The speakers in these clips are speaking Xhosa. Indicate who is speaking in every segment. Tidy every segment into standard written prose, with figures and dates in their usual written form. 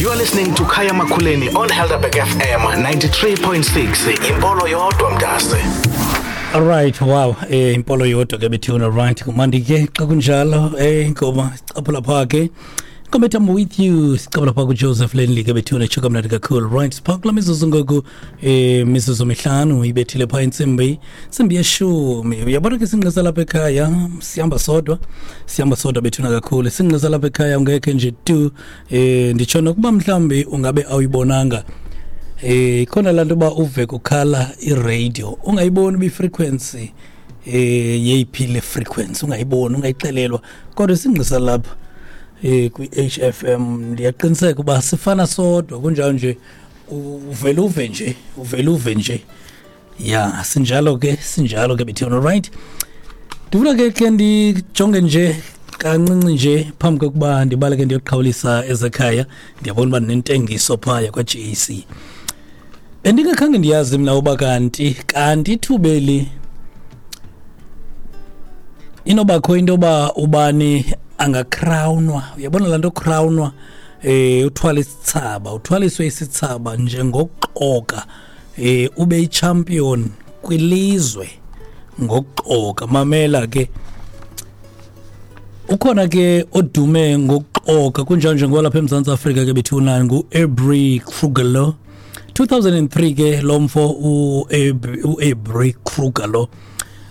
Speaker 1: You are listening to Kaya Makuleni on Helderberg FM 93.6. Impolo yodwa mntase.
Speaker 2: All right, wow. Impolo yodwa ke bethuna, right. Kumandi ke xa kunjalo, ingoma sicaphula pha ke. Ingoma ethi "I'm With You" sicaphula pha ku Joseph Lenley ke bethuna, tsho kamnandi kakhulu. Right, sipha kula mizuzu ngoku, mizuzu 5 ibethile pha intsimbi. Intsimbi yeshumi. Uyabona ke singqisa lapha ekhaya, sihamba sodwa. Sihamba sodwa bethuna kakhulu. Singqisa lapha ekhaya ungekhe nje tu, nditsho nokuba mhlambi ungabe awuyibonanga. Khona laa nto uba uve kukhala iradio ungayiboni uba ifrequency yeyiphi le frequency, ungayiboni, ungayixelelwa, kodwa isingqisa lapha kwi-HFM ndiyaqiniseka uba sifana sodwa kunjalo nje, uvele uve nje, uvele uve nje. Ya, sinjalo ke, sinjalo ke bethuna. Right, ndifuna ke ndijonge nje kancinci nje phambi kokuba ndibaleke ndiyoqhawulisa ezekhaya. Ndiyabona uba ndinentengiso phaya kwa-GAC. Bendingakhange ndiyazi mna uba kanti ithubeli inobakho into yoba ubani angacrownwa. Uyabona laa nto crownwa, uthwala isithsaba, uthwaliswe isithsaba njengokuxoka, ube ichampion kwilizwe ngokuxoka. Mamela ke, ukhona ke odume ngokuxoka kunjalo njengoba lapha eMzantsi Afrika ke bethuna, ngu-Abrie Kruger lo. 2003 ke lo mfo u-Abrie Kruger lo,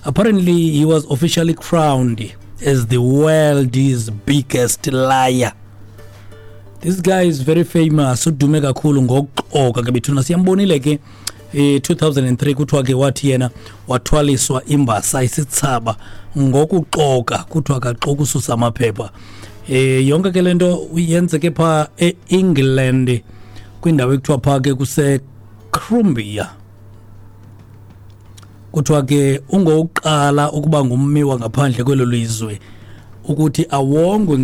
Speaker 2: apparently he was officially crowned as the world's biggest liar. This guy is very famous, udume kakhulu ngokuxoka ke bethuna. Siyambonile ke, 2003 kuthiwa ke wathi yena wathwaliswa imbasa, isithsaba, ngokuxoka. Kuthiwa kaxoka ususa amaphepha. Yonke ke lento yenzeke pha eEngland, kwindawo ekuthiwa pha ke kuse Crumbia. Kuthiwa ke ungowokuqala ukuba ngummi wangaphandle kwelo lizwe ukuthi awongwe.